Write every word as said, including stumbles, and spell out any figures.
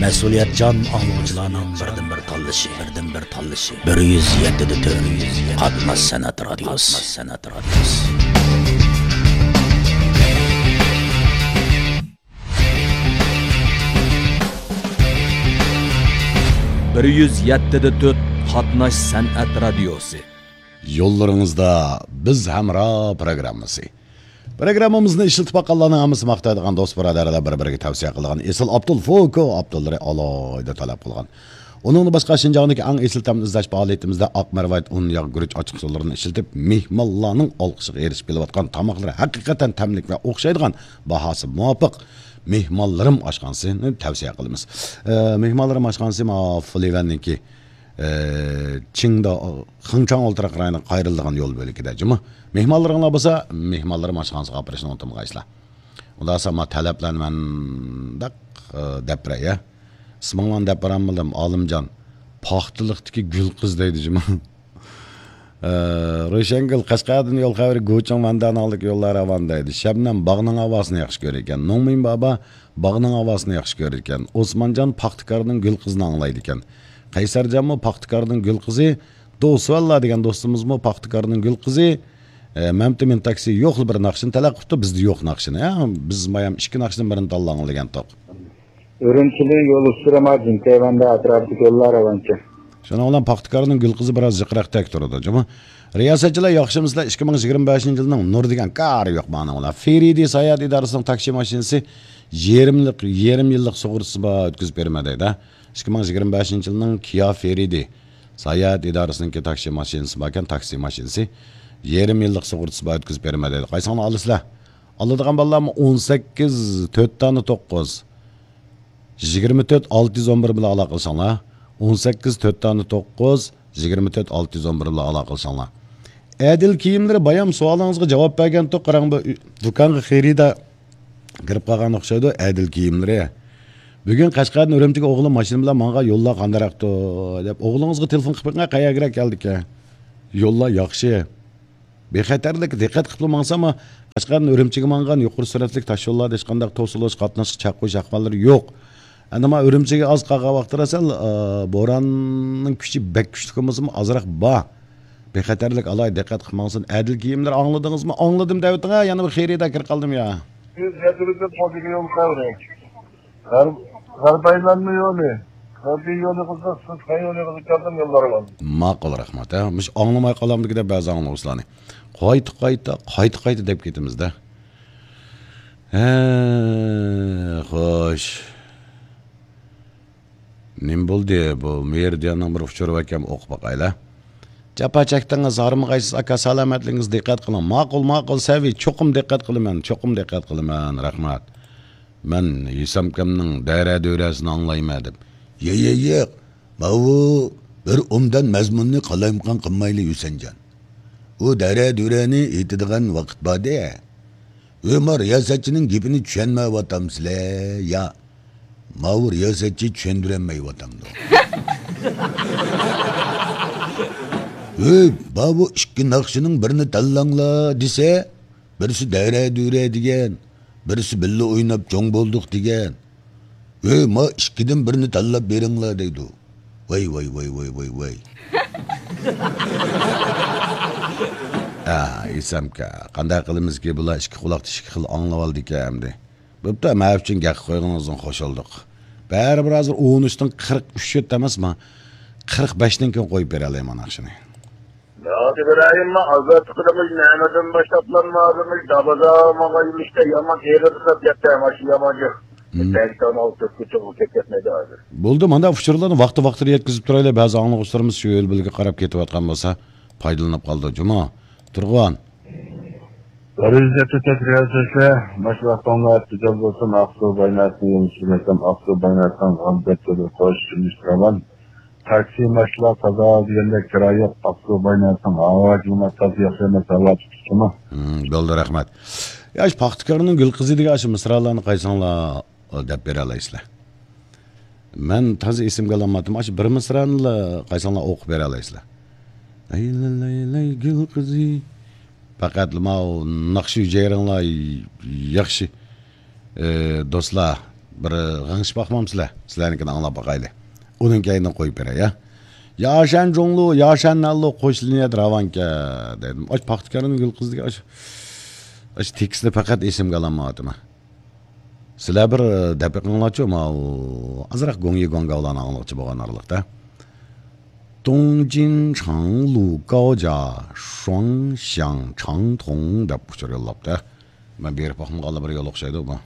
مەسئۇلىيەتچان ئاڭلىغۇچىلارنىڭ بىردىنبىر تاللىشى، بىردىنبىر تاللىشى. بىر يۈز يەتتە دە تۆت، قاتناش سەنئەت رادىيوسى. بىر يۈز يەتتە دە تۆت، قاتناش سەنئەت رادىيوسى. يوللىرىڭىزدا بىز ھەمراھ پروگراممىسى. پروگراممىمىزنى ئىشلىتىپ باققانلارنىڭ ھەممىسى ماختايدىغان، دوست بۇرادەرلەر بىر-بىرىگە تەۋسىيە قىلىدىغان ئېسىل ئابدۇل فوكو ئابدۇللىرى ئالاھىدە تەلەپ قىلغان. ئۇنىڭدىن باشقا، شىنجاڭدىكى ئەڭ ئېسىل تەمنى ئىزدەش پائالىيىتىمىزدە ئاق مەرۋايىت، ئۇن، ياغ، گۈرۈچ، ئاچچىق سۇلىرىنى ئىشلىتىپ، مېھمانلارنىڭ ئالقىشىغا ئېرىشىپ كېلىۋاتقان تاماقلىرى ھەقىقەتەن تەملىك ۋە ئوخشايدىغان، باھاسى مۇۋاپىق مېھمانلىرىم ئاشخانىسىنى تەۋسىيە قىلىمىز. ئە، مېھمانلىرىم ئاشخانىسى ماۋۇ فۇلىۋەننىڭكى، ئە، چىڭدا، خېڭچاڭ ئولتۇراق رايونىغا قايرىلىدىغان يول بۆلىكىدە جۇمۇ. مېھمانلىرىڭلار بولسا، مېھمانلىرىم ئاشخانىسىغا ئاپىرىشنى ئۇنتۇمىغايسىلەر. ئۇنداقسا ما تەلەپلەرنى مەنداق، ئە، دەپ بېرەي، يا. ئىسمىڭلارنى دەپ بېرەلمىدىم، ئالىمجان. پاختىلىقتىكى گۈل قىز دەيدۇ جۇمۇ. ئە، روشەنگۈل، قەشقەردىن يول خەۋىرى، گۇچىڭ ۋەندەنىڭلىك يوللار راۋان دەيدۇ. شەبنەم باغنىڭ ھاۋاسىنى ياخشى كۆرىدىكەن. نوڭمىن بابا باغنىڭ ھاۋاسىنى ياخشى كۆرىدىكەن. ئوسمانجان پاختىكارنىڭ گۈل قىزىنى ئاڭلايدىكەن. قەيسەرجانمۇ پاختىكارنىڭ گۈل قىزى، دوسۋەللا دېگەن دوستىمىزمۇ پاختىكارنىڭ گۈل قىزى. ئە، مەمتىمىن تاكسى يوقلا بىر ناخشىنى تەلەپ قىپتۇ، بىزدە يوق ناخشىنى. ھە، بىز مايام ئىككى ناخشىدىن بىرىنى تاللاڭ دېگەنتۇق. ئۈرۈمچىدىن يول ئۈستىدە ماجىن، تەيۋەندە ئەتراپتىكى يوللار راۋانچى. شۇنىڭ بىلەن پاختىكارنىڭ گۈل قىزى بىراز جىقراق تەك تۇرىدۇ، جۇمۇ. رىياسەتچىلەر ياخشىمۇسىلەر؟ ئىككى مىڭ يىگىرمە بەشىنچى يىلنىڭ نۇر دېگەن كارى يوق مانىڭ بىلەن. فېرىدى ساياھەت ئىدارىسىنىڭ تاكسى ماشىنىسى يېرىملىق، يېرىم يىللىق سۇغۇرتىسى بار، ئۆتكۈزۈپ بېرىمەن دەيدۇ. ئىككى مىڭ يىگىرمە بەشىنچى يىلنىڭ كىيا فېرىدى ساياھەت ئىدارىسىنىڭكى تاكسى ماشىنىسى باركەن، تاكسى ماشىنىسى يېرىم يىللىق سۇغۇرتىسى بار، ئۆتكۈزۈپ بېرىمەن دەيدۇ. قايسىڭلار ئالىسىلەر؟ ئالىدىغان بالىلارمۇ ئون سەككىز، تۆت دانە توققۇز، يىگىرمە تۆت، ئالتە يۈز ئون بىر بىلەن ئالاقىلىشىڭلار. ئون سەككىز، تۆت دانە توققۇز، يىگىرمە تۆت، ئالتە يۈز ئون بىر بىلەن ئالاقىلىشىڭلار. ئەدىل كىيىملىرى بايام سوئالىڭىزغا جاۋاب بەرگەنتۇق، قاراڭ، بۇ ئۆ-، دۇكانغا خېرىدار كىرىپ قالغان ئوخشايدۇ، ئەدىل كىيىملىرى. بۈگۈن قەشقەردىن ئۈرۈمچىگە ئوغلۇم ماشىنا بىلەن ماڭغان، يوللار قانداقراقتۇ دەپ، ئوغلىڭىزغا تېلېفون قىلىپ بېقىڭ، قەيەرگىرەك كەلدىكەن. يوللار ياخشى. بىخەتەرلىك دىققەت قىلىپلا ماڭسا، ما، قەشقەردىن ئۈرۈمچىگە ماڭغان يۇقىرى سۈرئەتلىك تاش يوللاردا ھېچقانداق توسۇلۇش، قاتناشقا چەك قويۇش ئەھۋاللىرى يوق. ئەنە ما ئۈرۈمچىگە ئاز قالغان ۋاقىتتا سەل، ئا، بوراننىڭ كۈچى بەك كۈچلۈك بولمىسىمۇ، ئازراق بار. بىخەتەرلىك ئالاھىدە دىققەت قىلىپ ماڭسۇن. ئەدىل كىيىملىرى ئاڭلىدىڭىزمۇ؟ ئاڭلىدىم دەۋېتىڭ ھە، يەنە بىر خېرىدار كىرىپ قالدىم يا. يۈز يەتتە يول خەۋىرى. غەرب-، غەربىي ئايلانما يولى. غەربىي يولى قىلسا، سىز خەير يولى قىلىپ كەلدىم يوللارغا. ماقۇل، رەھمەت. ھە، مۇشۇ ئاڭلىماي قالامدىكى دەپ بەزى ئاڭلىغۇچىلارنى. قايتا، قايتا، قايتا، قايتا دەپ كېتىمىز-دە. ھە، خوش. نېمە بولدى؟ بۇ مېرىدىياننىڭ بىر ئۇچۇرى باركەن، ئوقۇپ باقايلى. جاپا چەكتىڭىز، ھارمىغايسىز ئاكا، سالامەتلىكىڭىزگە دىققەت قىلىڭ. ماقۇل، ماقۇل، سەۋىي، چوقۇم دىققەت قىلىمەن، چوقۇم دىققەت قىلىمەن، رەھمەت. مەن ھېسامكامنىڭ دەرە-دۆرەسىنى ئاڭلايمەن دەپ. يە، يە، ياق، ماۋۇ بىر ئوبدان مەزمۇننى قالايمىقان قىلمايلى، ھۈسەنجان. ئۇ دەرە-دۆرەنى ئېيتىدىغان ۋاقىت باردى. ئۆ، ما رىياسەتچىنىڭ گېپىنى چۈشەنمەيۋاتامسىلەر يا؟ ماۋۇ رىياسەتچى چۈشەندۈرەلمەيۋاتامدۇ؟ ئۆي، ماۋۇ ئىككى ناخشىنىڭ بىرىنى تاللاڭلار دېسە، بىرسى دەرە-دۈرە دېگەن، بىرسى بىللە ئويناپ چوڭ بولدۇق دېگەن. ئۆي، ما ئىككىدىن بىرنى تاللاپ بېرىڭلار دەيدۇ. ۋاي، ۋاي، ۋاي، ۋاي، ۋاي، ۋاي. ئا، ئېسەمكە، قانداق قىلىمىزكى، بۇلار ئىككى قۇلاقتا ئىككى خىل ئاڭلىۋالدىكەن ئەمدى. بوپتۇ، مەن ئۈچۈن گەپ قويغىنىڭىزدىن خوش بولدۇق. بەرىبىر ھازىر ئون ئۈچتىن قىرىق ئۈچ ئۆتتى ئەمەسمۇ؟ قىرىق بەشتىن كېيىن قويۇپ بېرەلەيمەن ناخشىنى. ياكى بىرايىممۇ ئازاد قىلىمىز، نەمىدىن باشلاپلارمۇ ئادىمىز دابازا ماڭا يۈرۈشتە يامان ئېغىر قىلىپ يەتتە ماشىنا يامان جىق. مم. بەلكى ئانا ئوتتۇز كۈچۈڭ كەتمەيدۇ ھازىر. بولدى، مانداق ئۇچۇرلارنى ۋاقتى ۋاقتىدا يەتكۈزۈپ تۇرايلى، بەزى ئاڭلىغۇچىلىرىمىز شۇ يول بىلىگە قاراپ كېتىۋاتقان بولسا پايدىلىنىپ قالىدۇ. جۇمۇ، تۇرغۇن. بىر يۈز يەتتە تۆت رىياسەتلەر، ماشۇ ۋاقتىڭلار تېجەل بولسۇن، ئاقسۇ بايناسىنى يوللىشىمەن، ئاقسۇ بايناسىنىڭ غەلىبەت يولى قوش سۈرۈشتۈرەمەن. تاكسى ماشىنىلار تازا دېگەندەك كىرا يوق، ئاقسۇ بايناسىنىڭ ھاۋا كىلىمات تازا ياخشى ئەمەس، ھاۋا تۇتۇشتىمۇ؟ ھىم، بولدى، رەھمەت. يا، ئاشۇ پاختىكارنىڭ گۈل قىزى دېگەن ئاشۇ مىسرالارنى قايسىڭلار دەپ بېرەلەيسىلەر؟ مەن تازا ئېسىمگە ئالالمايتتىم. ئاشۇ بىر مىسرانىلا قايسىڭلار ئوقۇپ بېرەلەيسىلەر؟ لاي لاي لاي لاي گۈل قىزى. پەقەتلا ماۋۇ ناخشا ھۈجەيرىڭلار ياخشى، ئى، دوستلار. بىر غىڭشىپ باقمامسىلەر؟ سىلەرنىڭكىنى ئاڭلاپ باقايلى. ئۇنىڭ كەينىدىن قويۇپ بېرەي، يا. ياشەن جۇڭلۇ، ياشەن نەنلۇ، قوشلىنىيەت راۋانكە، دەيدۇ. ئاش پاختىكارنىڭ گۈل قىزىدىكى ئاش، ئاش تېكىستنى پەقەت ئېسىمگە ئالالمايۋاتىمەن. سىلەر بىر دەپ بېقىڭلارچۇ، ماۋۇ ئازراق گوڭيى گوڭگاۋلارنى ئاڭلىغۇچى بولغان ئارىلىقتا. دۇڭجىن چاڭلۇ گاۋجا شۇاڭ شياڭ چاڭ توڭ دەپ ئۇچۇر يوللاپتۇ. مەن بېرىپ باقمىغانلا بىر يول ئوخشايدۇ بۇ.